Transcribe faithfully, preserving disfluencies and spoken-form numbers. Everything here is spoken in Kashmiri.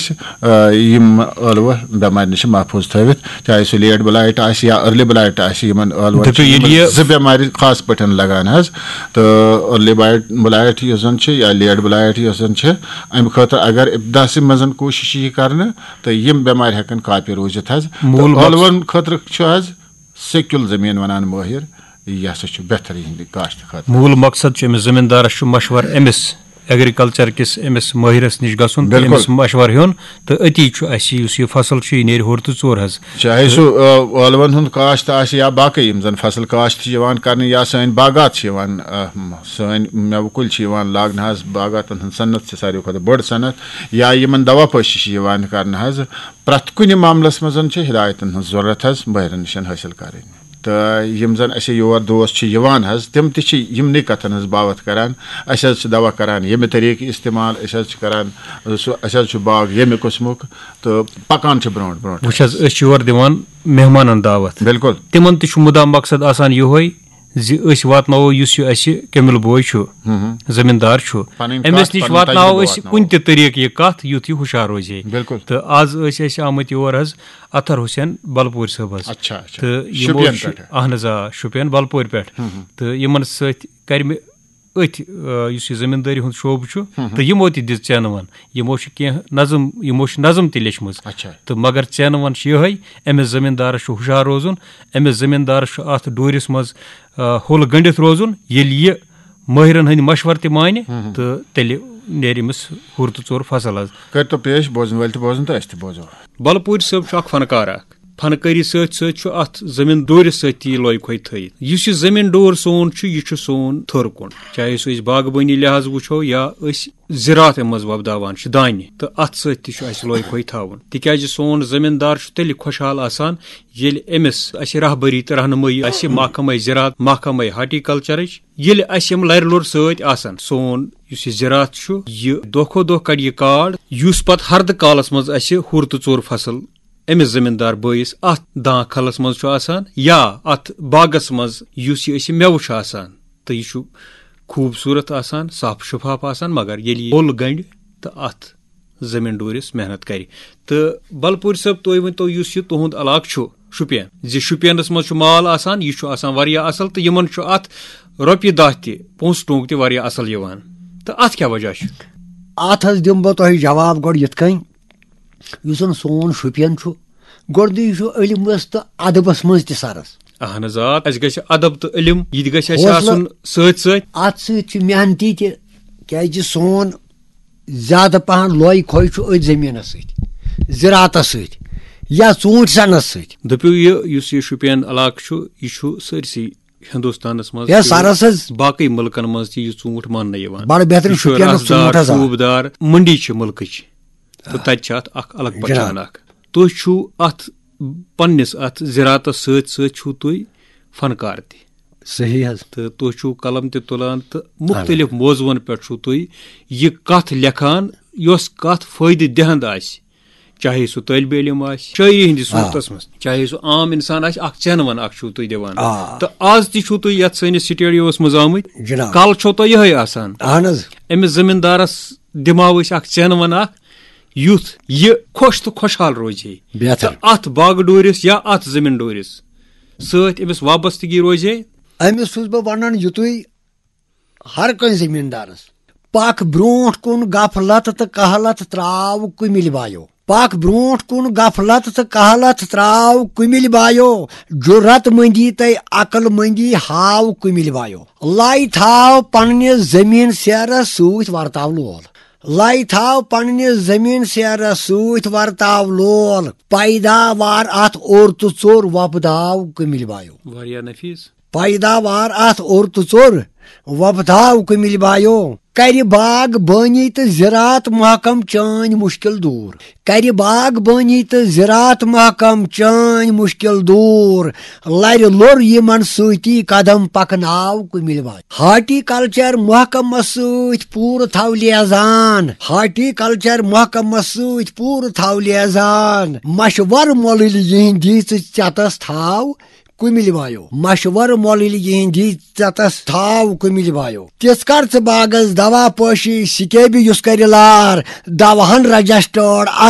أسۍ، آ، یِم ٲلوٕ بٮ۪مارِ نِش محفوٗظ تھٲوِتھ، چاہے سُہ لیٹ بلائٹ آسہِ یا ارلی بلائٹ آسہِ، یِمن ٲلوَن دٔپِو، چھِ ییٚلہِ یِم یہِ زٕ بٮ۪مارِ خاص پٲٹھۍ لگان حظ۔ تہٕ ارلی بلائٹ، بلائٹ یُس زَن چھِ یا لیٹ بلائٹ یُس زَن چھِ، اَمہِ خٲطرٕ اگر ابتداسٕے منٛز کوٗشِش یی کرنہٕ، تہٕ یِم بٮ۪مارِ ہٮ۪کن کاپہِ روٗزِتھ حظ۔ تہٕ موٗل مقصد ٲلوَن خٲطرٕ چھُ حظ سیٚکیُل زٔمیٖن وَنان مٲہِر، یہِ ہسا چھُ بہتریٖن کاشتہٕ خٲطرٕ۔ موٗل مقصد چھُ أمِس زٔمیٖندارَس چھُ مشورٕ أمِس ایگریکلچر کِس أمِس مٲہِرَس نِش گژھُن تہٕ بِلکُل۔ أمِس مشورٕ ہیوٚن، تہٕ أتی چھُ اَسہِ یُس یہِ فصل چھُ، یہِ نیرِ ہیوٚر تہٕ ژوٚر حظ۔ چاہے سُہ، آ، ٲلوَن ہُنٛد کاشت آسہِ یا باقٕے یِم زَن فصل کاشت چھِ یِوان کرنہٕ یا سٲنۍ باغات چھِ یِوان، آ، سٲنۍ مٮ۪وٕ کُلۍ چھِ یِوان لاگنہٕ حظ، باغاتَن ہٕنٛز صنعت چھِ ساروی کھۄتہٕ بٔڑ صنعت، یا یِمَن دوا پٲشی چھِ یِوان کرنہٕ حظ۔ پرٛٮ۪تھ کُنہِ معاملَس منٛز چھِ ہدایتَن ہٕنٛز ضروٗرت حظ مٲہِرَن نِش حٲصِل کَرٕنۍ۔ تہٕ یِم زَن اَسہِ یور دوس چھِ یِوان حظ، تِم تہِ چھِ یِمنٕے کَتھَن ہٕنٛز باوَتھ کَران۔ اَسہِ حظ چھِ دوا کَران ییٚمہِ طریٖقہٕ استعمال، أسۍ حظ چھِ کَران سُہ، اَسہِ حظ چھُ باغ ییٚمہِ قٕسمُک، تہٕ پَکان چھِ برونٛٹھ برونٛٹھ۔ وٕچھ حظ، أسۍ چھِ یور دِوان مہمانَن دعوت۔ بِلکُل۔ تِمَن تہِ چھُ مُدعا مقصد آسان یِہوٚے زِ أسۍ واتناوو یُس یہِ اَسہِ کیمِل بوے چھُ، ہُم ہُم۔ زٔمیٖندار چھُ، پَنٕنۍ أمِس کَتھ، نِش پَنٕنۍ واتناوو تجربہٕ أسۍ واتناوو۔ کُنہِ تہِ طریٖقہٕ یہِ کَتھ، یُتھ یہِ ہُشار روزِ ہے۔ بِلکُل۔ تہٕ آز ٲسۍ أسۍ آمٕتۍ یور حظ اطہر حسین بلپوٗرۍ صٲب حظ۔ اچھا، اچھا۔ تہٕ یِمو شُپین چھُ، پٮ۪ٹھٕ؟ اہن حظ، آ، شُپین بلپورِ پٮ۪ٹھ۔ ہُم ہُم۔ تہٕ یِمن سۭتۍ کرِ مےٚ أتھۍ، آ، یُس یہِ زٔمیٖندٲری ہُنٛد شعبہٕ چھُ، ہُم ہُم۔ تہٕ یِمو تہِ دِژ ژینہٕ ون۔ یِمو چھِ کینٛہہ نظم، یِمو چھِ نظم تہِ لیچھمٕژ۔ اچھا۔ تہٕ مگر ژینہٕ ون چھِ یِہوٚے، أمِس زٔمیٖندارس چھُ ہُشار روزُن، أمِس زٔمیٖندارس چھُ اتھ ڈوٗرِس منٛز، آ، ہُل گٔنڈِتھ روزُن۔ ییٚلہِ یہِ مٲہرن ہٕنٛدۍ مشورٕ تہِ مانہِ، ہُم ہُم۔ تہٕ تیٚلہِ نیرِ أمِس ہُر تہٕ ژوٚر فصل حظ۔ کٔرۍتو پیش بوزن وٲلۍ تہِ بوزن تہٕ أسۍ تہِ بوزو۔ بلپوٗرۍ صٲب چھُ اکھ فنکار اکھ۔ فنکٲری سۭتۍ سۭتۍ چھُ اتھ زٔمیٖن ڈورِس سۭتۍ تہِ یہِ لۄے کھۄے تھٲیِتھ۔ یُس یہِ زٔمیٖن ڈور سون چھُ، یہِ چھُ سون تھٔر کُن۔ چاہے سُہ أسۍ باغبٲنی لحاظ وٕچھو یا أسۍ زِراعت منٛز وۄپداوان چھِ دانہِ، تہٕ اتھ سۭتۍ تہِ چھُ اَسہِ لۄے کھۄے تھاوُن۔ تِکیازِ سون زٔمیٖندار چھُ تیٚلہِ خۄشحال آسان، ییٚلہِ أمِس اَسہِ رہبری تہٕ رہنمٲیی آسہِ محکمے زِراعت، محکمے ہارٹیکلچرٕچ، ییٚلہِ اَسہِ یِم لرِ لوٚر سۭتۍ آسن، سون یُس یہِ زِراعت چھُ، یہِ دۄہ کھۄتہٕ دۄہ کَڑِ یہِ کاڈ، یُس پتہٕ ہردٕ کالس منٛز اَسہِ ہُر تہٕ ژوٚر فصل أمِس زٔمیٖندار بٲیِس اَتھ دانٛ کھلس منٛز چھُ آسان یا اَتھ باغس منٛز یُس یہِ أسۍ مٮ۪وٕ چھُ آسان، تہٕ یہِ چھُ خوٗبصوٗرت آسان، صاف شِفاف آسان، مگر ییٚلہِ یہِ پوٚل گنٛڈِ تہٕ اَتھ زٔمیٖن ڈوٗرِس محنت کَرِ۔ تہٕ بلپوٗرۍ صٲب، تُہۍ ؤنۍ تو، یُس یہِ تُہُنٛد علاقہٕ چھُ شُپین، زِ شُپینَس منٛز چھُ مال آسان، یہِ چھُ آسان واریاہ اَصٕل، تہٕ یِمَن چھُ اَتھ رۄپیہِ دَہ تہِ، پونٛسہٕ ٹونٛک تہِ واریاہ اَصٕل یِوان، تہٕ اَتھ کیٛاہ وجہ چھُ؟ اَتھ حظ دِمہٕ بہٕ تۄہہِ جواب گۄڈٕ یِتھ کٔنۍ، یُس زَن سون شُپین چھُ، گۄڈٕنِچ چھُ علمَس تہٕ ادبَس منٛز تہِ سرس۔ اہن حظ، آ، اَسہِ گژھِ ادب تہٕ علم، یہِ تہِ گژھِ اَسہِ حوصلہٕ۔ آسُن سۭتۍ سۭتۍ۔ اَتھ سۭتۍ چھُ محنتی تہِ، کیازِ سون زیادٕ پَہَن لۄے کھۄے چھُ أتھۍ زٔمیٖنَس سۭتۍ، زِراعتَس سۭتۍ یا ژوٗنٛٹھۍ سَنَس سۭتۍ۔ دٔپِو، یہِ یُس یہِ شُپین علاقہٕ چھُ، یہِ چھُ سٲرسٕے ہِندُستانَس منٛز یا تہِ، سَرَس حظ۔ باقٕے مُلکَن منٛز تہِ یہِ ژوٗنٛٹھ ماننہٕ یِوان۔ بَڑٕ بہتریٖن یہِ چھُ شُپینَس رَسدار، ژوٗنٛٹھ حظ آ۔ شوٗبدار، مٔنڈی چھِ مُلکٕچ۔ تہٕ تَتہِ چھِ اَتھ اَکھ الگ جِناب۔ پہچان اَکھ۔ تُہۍ چھُو اَتھ پنٛنِس اَتھ زِراعتَس سۭتۍ سۭتۍ چھُو تُہۍ فنکار تہِ۔ صحیح حظ۔ تہٕ تُہۍ چھُو قلم تہِ تُلان تہٕ مُختٔلِف موضوعن پٮ۪ٹھ چھُو تُہۍ یہِ کَتھ لیکھان، یۄس کَتھ فٲیدٕ دِہَنٛد آسہِ، چاہے سُہ طٲلبِ علم آسہِ شٲعری ہِنٛدِس آ۔ صوٗرتَس منٛز، چاہے سُہ عام اِنسان آسہِ، اَکھ ژینہٕ وَن اَکھ چھُو تُہۍ دِوان۔ آ۔ تہٕ آز تہِ چھُو تُہۍ یَتھ سٲنِس سٹوڈیوَس منٛز آمٕتۍ۔ جِناب۔ کَل چھو تۄہہِ یِہوٚے آسان۔ اَہَن حظ۔ أمِس زٔمیٖندارَس دِماو أسۍ اَکھ ژینہٕ وَن اَکھ، یُتھ یہِ خۄش تہٕ خۄشحال روزِ ہے۔ بہتر۔ تہٕ اَتھ باغہٕ ڈوٗرِس یا اَتھ زٔمیٖن ڈوٗرِس سۭتۍ أمِس وابستگی روزِ ہے۔ أمِس چھُس بہٕ وَنان یُتُے، ہر کٲنٛسہِ زٔمیٖندارَس، پَکھ برٛونٛٹھ کُن غفلت تہٕ کہلت ترٛاو کُمِلۍ بایو۔ پَکھ برٛونٛٹھ کُن غفلت تہٕ کہلت ترٛاو کُمِلۍ بایو۔ جُرت مٔنٛدی تہٕ عقل مٔنٛدی ہاو کُمِلۍ بایو۔ لَے تھاو پننہِ زٔمیٖن سیرس سۭتۍ ورتاو لول۔ لَے تھاو پننہِ زٔمیٖن سیرس سۭتۍ ورتاو لول۔ پیداوار اَتھ اوٚر تہٕ ژوٚر وۄپداو کُمِلۍ بایو۔ واریاہ نفیٖس۔ پیداوار اَتھ اوٚر تہٕ ژوٚر وۄپداو کُمِلۍ بایو۔ کرِ باغ بٲنی تہٕ زِراعت محکم چٲنۍ مُشکِل دوٗر۔ کرِ باغ بٲنی تہٕ زِراعت محکم چٲنۍ مُشکِل دوٗر۔ لرِ لوٚر یِمن سۭتی قدم پکناو کُمِلۍ بایو۔ ہارٹی کلچر محکمس سۭتۍ پوٗرٕ تھاو لیزان۔ ہارٹی کلچر محکمس سۭتۍ پوٗرٕ تھاو لیزان۔ مشور مۄلٕلۍ یِہنٛدِ ژٕ ژٮ۪تس تھاو کُمِلۍ بایو۔ مشور مۄلٕلۍ یِہنٛدِ ژٮ۪تس تھاو کُمِلۍ بایو۔ تِژھ کر ژٕ باغس دوا پٲشی سکیبہِ یُس کرِ لار۔ دواہن رجسٹرڈ